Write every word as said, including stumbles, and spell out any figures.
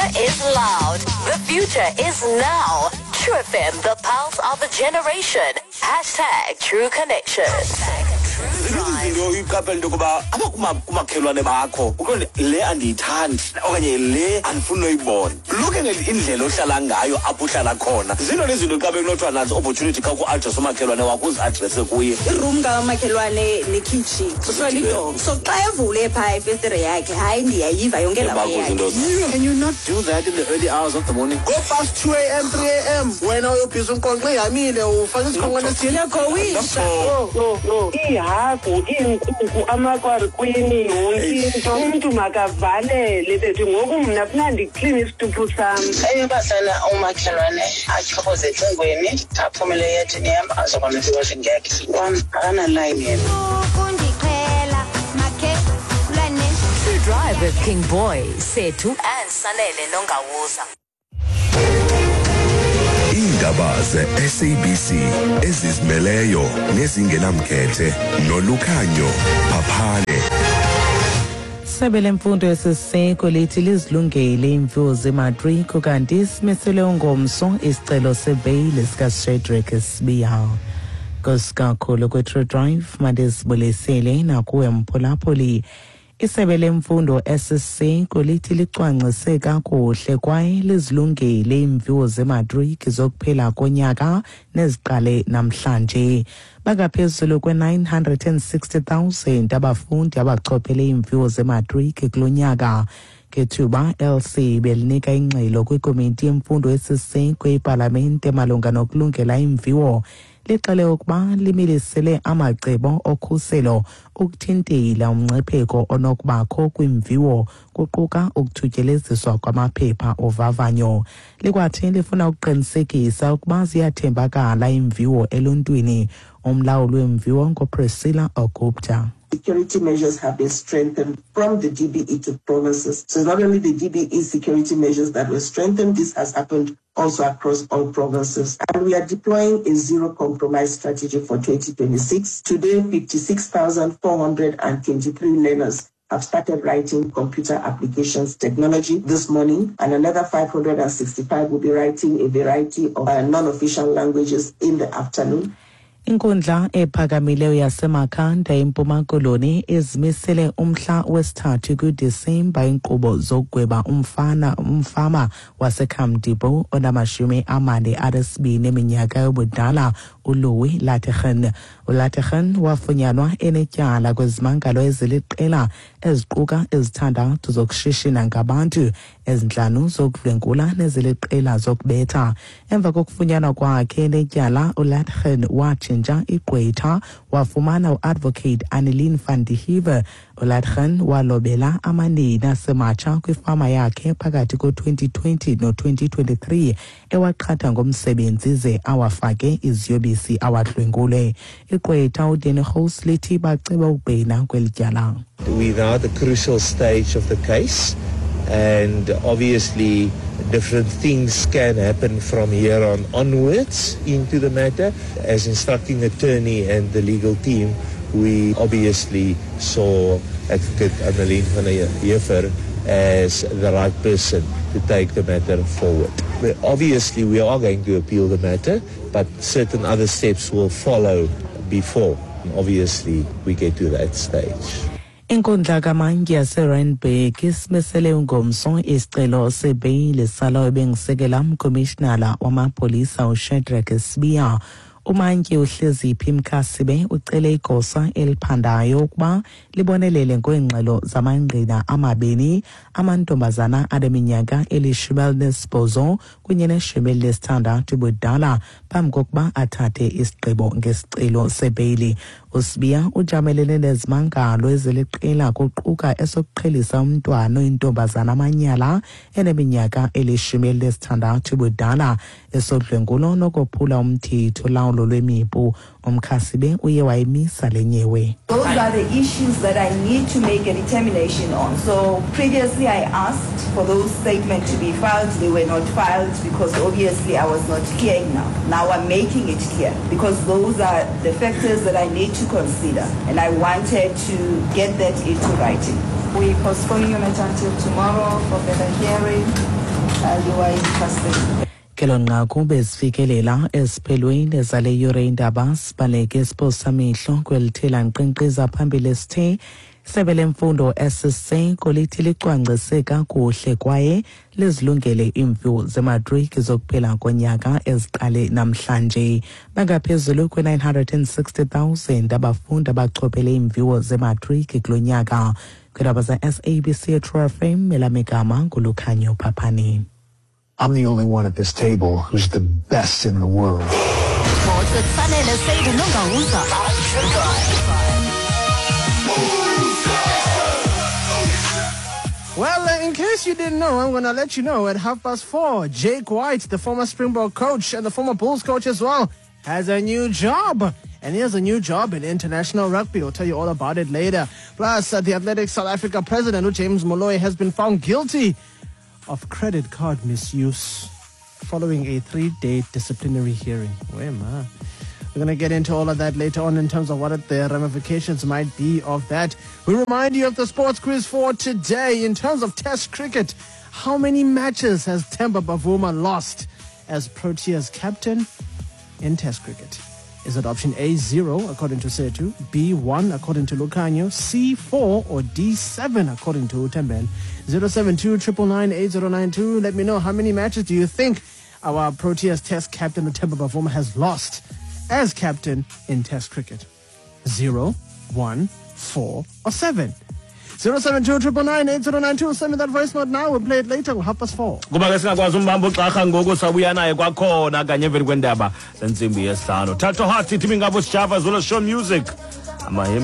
future is loud. The future is now. True F M, the pulse of a generation. Hashtag True Connection. Ziningi izinto uyiqaphela into yokuba apha kumakhelwane bakho uqonde le andiyithandi okanye le andifuni noyibona. Looking at indlela ohlala ngayo apho uhlala khona, zinto nezinto xa bekunothiwa nazo opportunity xa ku-address umakhelwane wakho uzi-addresse kuye. Iroom kamakhelwane nekhitshi kuthiwa lidonga, so xa evule phaa ifestire yakhe, hayi, ndiyayiva yonke laa Yabakho yakhe. izinto zakho. Can you not do that in the early hours of the morning? Go past two A M, three A M, wena uyobhiza umqonqo ihamile, ufake isikhonkwane esithile. Uyagowisha. No, no, no. Iihagu, iinkukhu, amakwarkwini, yonke into. Umntu makavalele bethu. Ngoku mna funa ndikline isituphu sam. Eyobahlala umakhelwane atyhoboze ecingweni, aphumele eyadini yam, azokwenza iwashing yakhe. Wam akanalayini yena. Ukundiqhela, makhelwane. True Drive with King Boy, Sethu and Sanele Nongawuza. Iindaba ze-S A B C ezizimeleyo nezingenamkhethe noLukhanyo Phaphane. Isebe lemfundo esiseko lithi lizilungele iimviwo zematriki kanti simisele ungomso isicelo sebheyile sikaShadrack Sibiya. Nkosi kwe-True Drive mandisibulisele nakuwe mphulaphuli. Isebe lemfundo esiseko lithi licwangcise kakuhle kwaye lizilungele iimviwo zematriki zokuphela konyaka neziqale namhlanje. Bangaphezulu kwe-nine hundred and sixty thousand abafundi abachophele iimviwo zematriki kulo nyaka. Ngethuba L C belinika ingxelo kwikomiti yemfundo esiseko epalamente malunga nokulungela iimviwo, lixele ukuba limilisele amacebo okhuselo ukuthintela umngcipheko onokubakho kwimviwo, kuquka ukuthutyeleziswa kwamaphepha ovavanyo. Likwathi lifuna ukuqinisekisa ukuba ziyathembakala iimviwo eluntwini. Umlawuli wemviwo nguPriscilla Ogupta. Security measures have been strengthened from the D B E to provinces. So it's not only the D B E security measures that were strengthened, this has happened also across all provinces. And we are deploying a zero compromise strategy for twenty twenty-six. Today, fifty-six thousand four hundred twenty-three learners have started writing computer applications technology this morning, and another five hundred sixty-five will be writing a variety of, uh, non-official languages in the afternoon. Inkundla ephakamileyo yaseMakhanda eMpuma Koloni izimisele umhla wesithathu kuDisemba inkqubo zokugweba umfana umfama waseKhamdipo onamashumi amane anesibini eminyaka yobudala uLouis Lategan. ULategan wafunyanwa enetyala kwezimangalo eziliqela eziquka ezithandathu zokushishina ngabantu, ezintlanu zokudlwengula neziliqela zokubetha. Emva kokufunyanwa kwakhe enetyala, uLategan watshintsha igqwetha wafumana uadvocate Annelien van der Heever. uLategan walobela amanina asematsha kwifama yakhe phakathi ko-twenty twenty no-twenty twenty-three ewaqhatha ngomsebenzi ze awafake iziyobisi awadlwengule. Igqwetha uDanny House lithi baceba ukubhena kweli tyala. We're now at the crucial stage of the case, and obviously different things can happen from here on onwards into the matter. As instructing attorney and the legal team, we obviously saw Advocate Annelien van der Heever as the right person to take the matter forward. But obviously we are going to appeal the matter, but certain other steps will follow before obviously we get to that stage. Inkundla kamantyi yaseRandburg isimisele ungomso isicelo sebheyile salowo ebengisekela umkomishinala wamapolisa uShadrack Sibiya. Umantyi uHleziphi Mkhasibe ucele igosa eliphandayo ukuba libonelele ngoongxelo zamangqina amabini, amantombazana aneminyaka elishumi elinesibhozo kunye neshumi elinesithandathu ubudala phambi kokuba athathe isigqibo ngesicelo sebheyili. USibiya ujamelene nezimangalo eziliqela kuquka esokuqhelisa umntwana oyintombazana amanyala eneminyaka elishumi elinesithandathu ubudala, esodlwengulo nokophula umthetho lawulo lwemipu. Umkhasibe uye wayimisa le nyewe. Those are the issues that I need to make a determination on. So previously I asked for those statements to be filed. They were not filed because obviously I was not clear enough. Now I'm making it clear because those are the factors that I need to consider, and I wanted to get that into writing. We're postponing your matter until tomorrow for further hearing. child owaye-entrusted. Kelo nqaku bezifikelela esiphelweni zale yure indaba. Sibaleke esiphosamehlo kwelithela nkqenkqeza phambili sithe isebe lemfundo esiseko lithi licwangcise kakuhle kwaye lizilungele iimviwo zematriki zokuphela konyaka eziqale namhlanje. Bangaphezulu kwe-nine hundred and sixty thousand abafundi abachophele iimviwo zematriki kulo nyaka. Kwiindaba ze-S A B C True F M, elamigama nguLukhanyo Phaphani. I'm the only one at this table who's the best in the world. Sports with Sanele Seidi Nongawuza. Well, uh, in case you didn't know, I'm going to let you know at half past four, Jake White, the former Springbok coach and the former Bulls coach as well, has a new job. And he has a new job in international rugby. We'll tell you all about it later. Plus, uh, the Athletics South Africa president, James Moloi, has been found guilty of credit card misuse following a three-day disciplinary hearing. Wait, ma. We're going to get into all of that later on in terms of what the ramifications might be of that. We remind you of the sports quiz for today. In terms of Test cricket, how many matches has Temba Bavuma lost as Proteas captain in Test cricket? Is it option A, zero, according to Setu, B, one, according to Lucanio, C, four, or D, seven, according to Temben? zero seven two nine nine nine eight zero nine two. Let me know, how many matches do you think our Proteas Test captain Temba Bavuma has lost as captain in Test cricket? Zero, one, four, or seven? zero seven two nine nine nine eight zero nine two. Send me that voice note now. We'll play it later. Half past four. Kuba ke singakwazi umbamba uxarha ngoku, sabuya naye kwakhona kanye emveni kwendaba zentsimbi yesihlanu. Thato Heart ithi mingabo sijava zolo show music amahim.